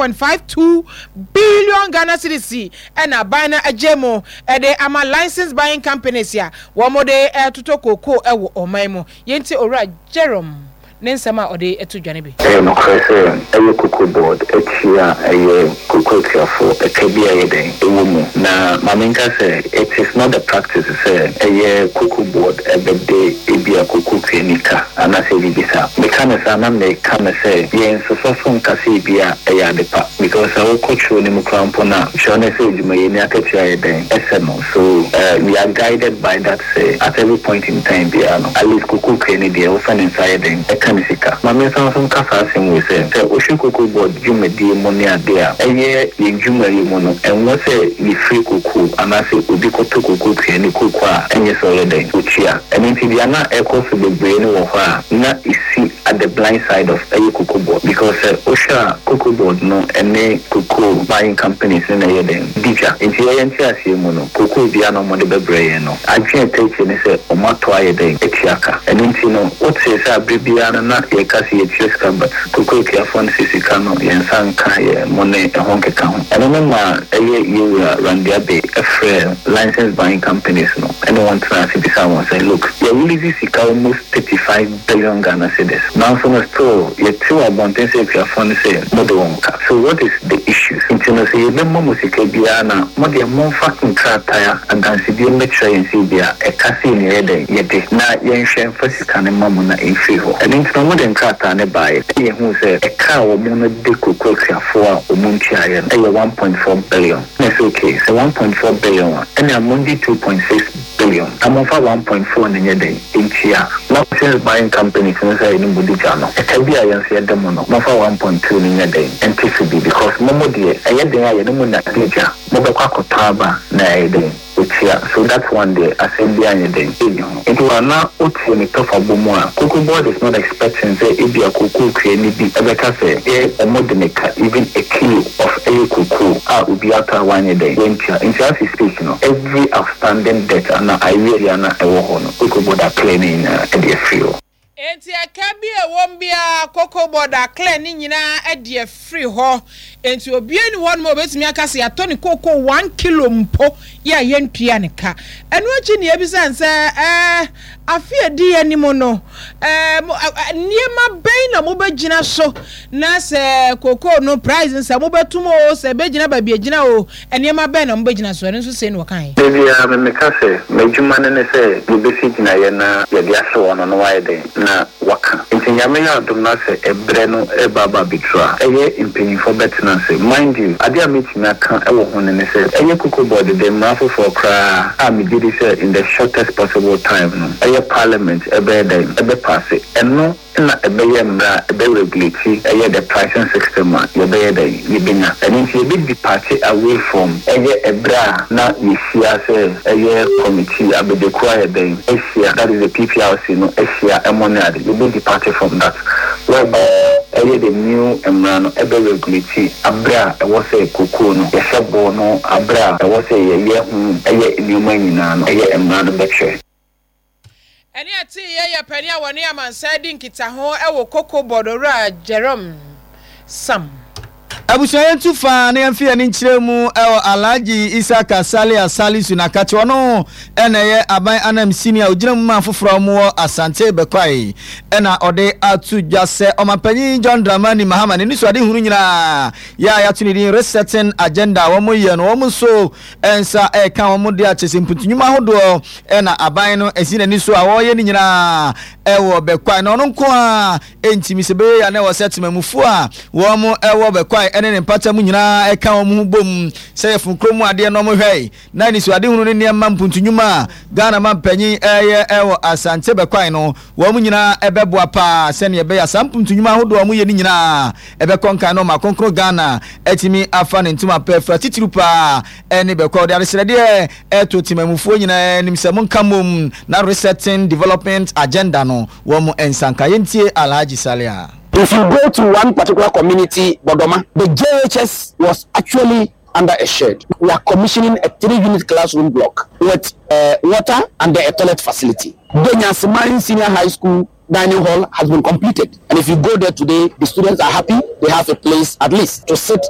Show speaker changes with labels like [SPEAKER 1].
[SPEAKER 1] 1.52 billion Ghana cedis na aban no agye mu de ama license buying companies a wɔde retotɔ kookoo wɔ ɔman mu. Yɛntie Owura Jerome ne nsɛm a ɔde to dwa no bi.
[SPEAKER 2] Ɛyɛ nokorɛ sɛ ɛyɛ Cocoa Board akyi a ɛyɛ kooko akuafoɔ ɛka bi a ɛyɛ dɛn ɛwɔ mu. Na ma menka sɛ it is not the practice sɛ ɛyɛ Cocoa Board ɛbɛde ebia kooko kuani ka anaasɛ biribi saa. Meka no saa na meka no sɛ yɛnsosɔ so nka sɛ ebia ɛyɛ ade pa because sɛ wokɔ twerɛ no mu koraa mpo no a, twerɛ no sɛ odwumayɛni akatua yɛ dɛn ɛsɛ no so we are guided by that sɛ at every point in time biara no at least kooko kuani deɛ wofa ne nsa yɛ dɛn ɛka ne sika. Ma mensan nso nka saa asɛm wei sɛ, sɛ wohwɛ Cocoa Board dwumadie mu ne adeɛ a, ɛyɛ yɛn dwumayɛ mu no, ɛnwɔ sɛ yɛfiri kooko anaasɛ obi kɔtɔ kooko kuani kooko a ɛnyɛ sɛ ɔyɛ dɛn ɔtua. Ɛno nti deɛ na ɛrekɔ so bebree no wɔ hɔ a na ɛsi at the blind side of ɛyɛ Cocoa Board because sɛ wohwɛ a Cocoa Board no ne cocoa buying companies no na ɛyɛ dɛn di dwa. Nti yɛn nteaseɛ mu no, cocoa biara na wɔde bɛbrɛ yɛn no, adwene a ɛtaa akyire ne sɛ wɔatɔ ayɛ dɛn atua ka. Ɛno nti no wotee sɛ aberɛ biara no na yɛka sɛ yɛtua sika but cocoa akuafoɔ no sɛ sika no yɛn nsa nka yɛn mo ne ɛho nkeka ho. Ɛno no maa ɛyɛ yɛn wura Randy Abbey frɛɛ license buying companies no ne wɔn tenaa ase bisaa wɔn sɛ look yɛ release sika almost 35 billion Ghana cedis nanso no still yɛte wɔ abɔnten sɛ akuafoɔ no sɛ mode wɔn ka so what is the issue nti no sɛ yɛbɛma mo sika biara no a mo deɛ momfa nkrataa adansedie mmɛkyerɛ yɛn sɛ ebia ɛka sei na yɛyɛ dɛn yɛde na yɛnhwɛ mfa sika no mma mo na ɛmfiri hɔ ɛno nti no wɔde nkrataa no baeɛ ɛna yɛhuu sɛ ɛka a wɔn no de koko akuafoɔ a wɔn ntuaeɛ no ɛyɛ 1.4 billion. Na ɛsɛ okay, sɛ 1.4 billion a, ɛnea mongye 2.6 billion na momfa 1.4 no nyɛ dɛn ntua? Na since buying companies no sɛ yɛne mo di dwa no, ɛka bi a yɛn nso yɛde mo no, momfa 1.2 no nyɛ dɛn nte so bi because mo mo deɛ, ɛyɛ den a yɛne mo na di dwa, mobɛkɔ akɔtɔ aba na ɛyɛ dɛn atua, so that one deɛ asɛm biara nyɛ dɛn nni ho. Nti wa na wote ne tɔfabɔ mu a, Cocoa Board is not expecting sɛ ebia cocoa kuani bi bɛka sɛ yɛ ɔmo de me ka even a kilo of ɛyɛ cocoa a obi atɔ a wanyɛ dɛn wantua. Nti as we speak no, every outstanding debt anaa arrears biara na ɛwɔ hɔ no, Cocoa Board a clear ne nyinaa de afiri hɔ.
[SPEAKER 1] Enti ɛka bi a ɛwom biara, Cocoa Board a clear ne nyinaa de afiri hɔ. Enti obiara nni hɔnom a obetumi aka sɛ yɛatɔ ne cocoa one kilo mpo yɛ a yɛntua ne ka. Ɛno akyi na yɛbisa no sɛ, ɛɛ, afe a edi yɛn anim no, ɛɛ, mo, nneɛma bɛn na mobɛgyina so na sɛ cocoa no price no sɛ mobɛtom o, sɛ ɛbɛgyina baabi a ɛgyina o, nneɛma bɛn na mobɛgyina so? Ɛno nso sei na ɔkaeɛ.
[SPEAKER 2] Da biara me meka sɛ, m'adwuma no ne sɛ yɛbɛsi gyinaeɛ na yɛde ahyɛ wɔn no na wɔayɛ dɛn? Na wɔaka. Nti Nyame yɛ adom na sɛ ɛberɛ no reba aba abɛduru a, ɛyɛ mpanyinfoɔ bɛtena ase. Mind you, adeɛ a mɛtumi aka wɔ ho no ne sɛ, ɛyɛ Cocoa Board de mmara foforɔ koraa a megye di sɛ in the shortest possible time no, ɛyɛ Parliament ɛbɛyɛ dɛn? Ɛbɛpaase. Ɛno na ɛbɛyɛ mmara a ɛbɛ regulate ɛyɛ the pricing system a yɛbɛyɛ dɛn? Yɛbɛnya. Ɛno nti yɛbɛ departe away from ɛyɛ ɛberɛ a na yɛhyia sɛ ɛyɛ committee, abɛdwakuo ayɛ dɛn? Ahyia, that is the PPRC no ahyia ɛmo ne ade, yɛbɛ departe from that whereby ɛyɛ the new mmara no ɛbɛ regulate aberɛ a ɛwɔ sɛ cocoa no yɛhyɛ boɔ no, aberɛ a ɛwɔ sɛ yɛyɛ ho ɛyɛ nnoɔma nyinaa no ɛyɛ mmara no bɛkyerɛ.
[SPEAKER 1] Ɛnne a ɛteeɛ yɛ panin a wɔne amansan di nkitaho wɔ Cocoa Board, Owura Jerome Sam.
[SPEAKER 3] Abusua yɛntu fa na yɛmfe yɛn ani nkyerɛ mu wɔ Alhaji Isaka Salia Salisu Nakate ɔno na ɛyɛ aban anamsini a ogyina mu ma afoforɔ a wɔwɔ Asante Bɛkwae na ɔde ato dwa sɛ Ɔmanpanyin John Dramani Mahama ne nisuadehunu nyinaa yɛ a yɛato ne din Resetting Agenda a wɔyɛ no wɔn nso nsa reka wɔn de akyɛ sɛ mpuntu nnwuma ahodoɔ na aban no asi n'ani so a wɔreyɛ no nyinaa wɔ Bɛkwae na ɔno nko ara ntumi sɛ bɛyɛ yɛ na ɛwɔ sɛ temamufoɔ a wɔn wɔ Bɛkwae ne ne mpata mu nyinaa ɛka wɔn ho bom sɛ yɛfo kurom mu adeɛ na wɔn hwɛe na anisoadehunu ne nneɛma mpuntu nnwuma a Ghana mampanyin ɛyɛ wɔ Asante Bɛkwae no wɔn nyinaa ɛbɛboa paa sɛnea ɛbɛyɛ a saa mpuntu nnwuma ahodoɔ a wɔyɛ no nyinaa ɛbɛkɔ nkan na ɔma kronkron Ghana atumi afa ne ntoma pɛ afira titiriw paa ɛne bɛkɔ ɔde adesrɛdeɛ ɛto temamufoɔ nyinaa anim sɛ monka mmom na Resetting Development Agenda no wɔn nsa nka. Yɛntie Alhaji Salia.
[SPEAKER 4] If you go to one particular community, Bodoma, the JHS was actually under a shed. We are commissioning a three-unit classroom block with uh, water and a toilet facility. Denyaseman Senior High School dining hall has been completed. And if you go there today, the students are happy. They have a place at least to sit.